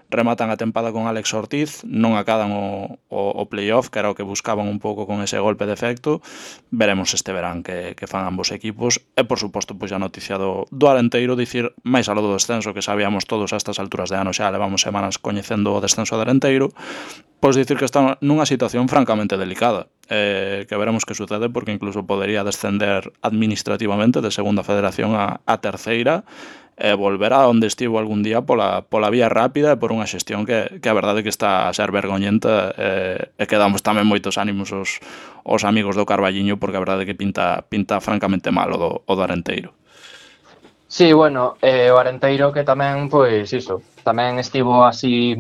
rematan a tempada con Alex Ortiz, non acadan o playoff, que era o que buscaban un pouco con ese golpe de efecto. Veremos este verán que fan ambos equipos. E, por suposto, pois a noticia do Arenteiro, dicir, máis aló do descenso, que sabíamos todos a estas alturas de ano, xa levamos semanas coñecendo o descenso do Arenteiro, pois dicir que está nunha situación francamente delicada, que veremos que sucede, porque incluso podería descender administrativamente de segunda federación a terceira, e volver a onde estivo algún día pola vía rápida e por unha xestión que a verdade que está a ser vergoñenta, e que damos tamén moitos ánimos aos amigos do Carballiño, porque a verdade que pinta francamente mal o do Arenteiro. Sí, bueno, o Arenteiro que tamén, pois, iso, tamén estivo así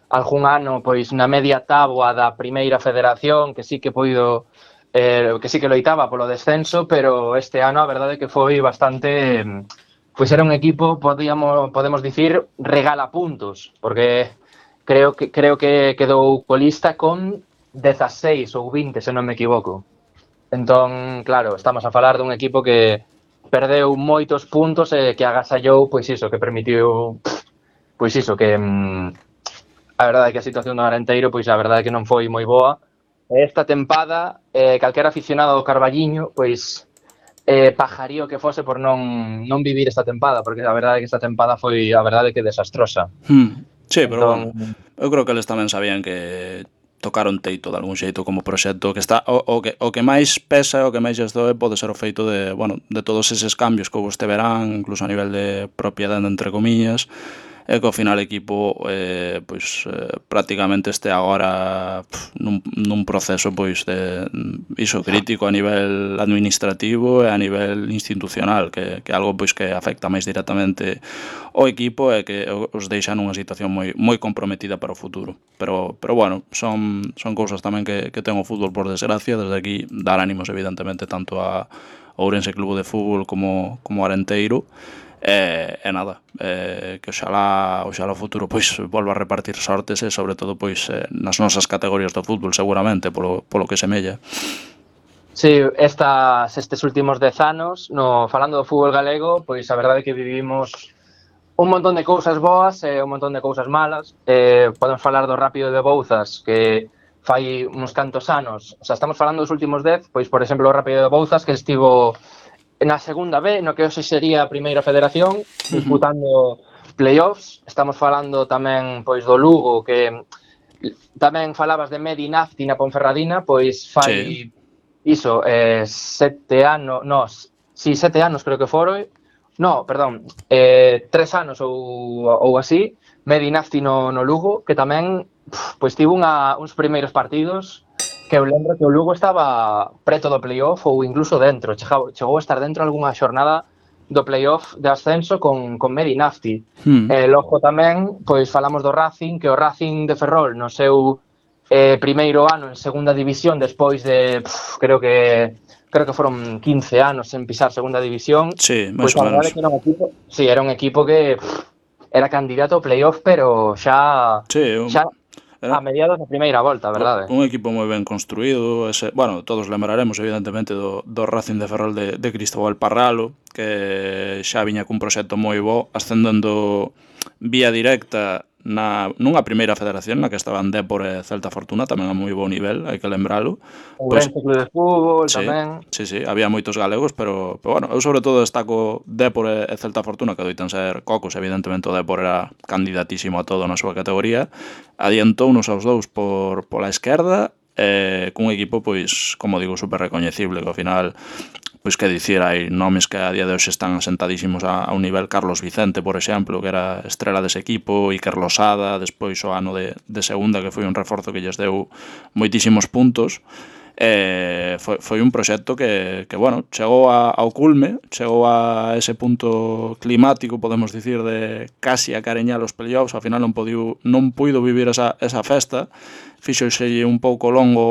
algún ano, pois, na media táboa da primeira federación, que sí que puido, que sí que loitaba polo descenso, pero este ano a verdade que foi bastante, pois era un equipo, podemos dicir, regala puntos, porque creo que quedou colista con 16 ou 20, se non me equivoco. Entón, claro, estamos a falar dun equipo que perdeu moitos puntos e que agasallou, pois iso, que permitiu, pois iso, que a verdade é que a situación do Arenteiro, pois a verdade é que non foi moi boa. Esta tempada, calquera aficionado do Carballiño, pois pajarío que fose por non vivir esta tempada, porque a verdade é que esta tempada foi a verdade que desastrosa. Sí, pero Entón, bueno, eu creo que eles tamén sabían que tocaron teito de algún xeito como proxecto, que está o que máis pesa, o que máis lles doe pode ser o feito de, bueno, de todos eses cambios que houve este verán, incluso a nivel de propiedade entre comillas, e que ao final o equipo prácticamente este agora nun proceso pois de iso crítico a nivel administrativo e a nivel institucional, que é algo pois que afecta máis directamente o equipo e que os deixa nunha situación moi comprometida para o futuro. Pero bueno, son cousas tamén que ten o fútbol, por desgracia. Desde aquí dar ánimos evidentemente tanto a Ourense Club de Fútbol como Arenteiro. E nada, que oxalá o futuro pois volva a repartir sortes, e sobre todo pois nas nosas categorías do fútbol, seguramente, polo que semella. sí, estes últimos 10 anos, falando do fútbol galego, pois a verdade é que vivimos un montón de cousas boas e un montón de cousas malas. Podemos falar do Rápido de Bouzas, que fai uns cantos anos, o sea, estamos falando dos últimos 10, pois, por exemplo, o Rápido de Bouzas, que estivo na segunda B, no que hoxe sería a primeira federación, disputando playoffs. Estamos falando tamén, pois, do Lugo, que tamén falabas de Medi Nafti na Ponferradina, pois fai iso, 7 anos, sí, 7 anos creo que foron, no, perdón, 3 anos ou así, Medi Nafti no Lugo, que tamén, pois, tivo uns primeiros partidos que eu lembro que o Lugo estaba preto do playoff ou incluso dentro, chegou a estar dentro algunha xornada do playoff de ascenso con Medi Nafti. Logo tamén, pois falamos do Racing, que o Racing de Ferrol no seu primeiro ano en segunda división, despois de, creo que foron 15 anos en pisar segunda división. Sí, máis ou menos. Que era un equipo, sí, era un equipo que era candidato ao playoff, pero xa a mediados da primeira volta, verdade? Un equipo moi ben construído. Bueno, todos lembraremos evidentemente do Racing de Ferrol de Cristóbal Parralo, que xa viña cun proxecto moi bo, ascendendo vía directa nunha primeira federación na que estaban Dépor e Celta Fortuna, tamén a moi bo nivel, hai que lembralo. Ourense Club de Fútbol tamén. Sí, había moitos galegos, pero bueno, eu sobre todo destaco Dépor e Celta Fortuna, que doitan ser cocos. Evidentemente o Dépor era candidatísimo a todo na súa categoría. Adiantounos aos dous pola esquerda, cun equipo, pois, como digo, super recoñecible, que ao final, pois que dicir, hai nomes que a día de hoxe están asentadísimos a un nivel. Carlos Vicente, por exemplo, que era estrela dese equipo, Iker Losada, despois o ano de segunda, que foi un reforzo que lles deu moitísimos puntos. Foi un proxecto que bueno, chegou ao culme, chegou a ese punto climático, podemos dicir, de casi acareñar os playoffs. Ao final non puido vivir esa festa. Fíxose un pouco longo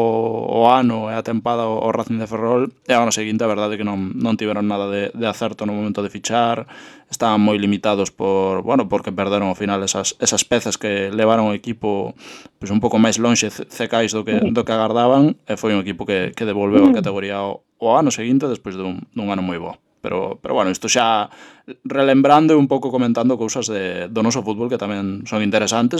o ano e a tempada o Racing de Ferrol, e ao ano seguinte a verdade é que non tiveron nada de acerto no momento de fichar. Estaban moi limitados porque perderon ao final esas pezas que levaron o equipo pois un pouco máis lonxe cecais do que agardaban, e foi un equipo que devolveu a categoría o ano seguinte despois dun ano moi bo. Pero bueno, isto xa relembrando e un pouco comentando cousas do noso fútbol que tamén son interesantes,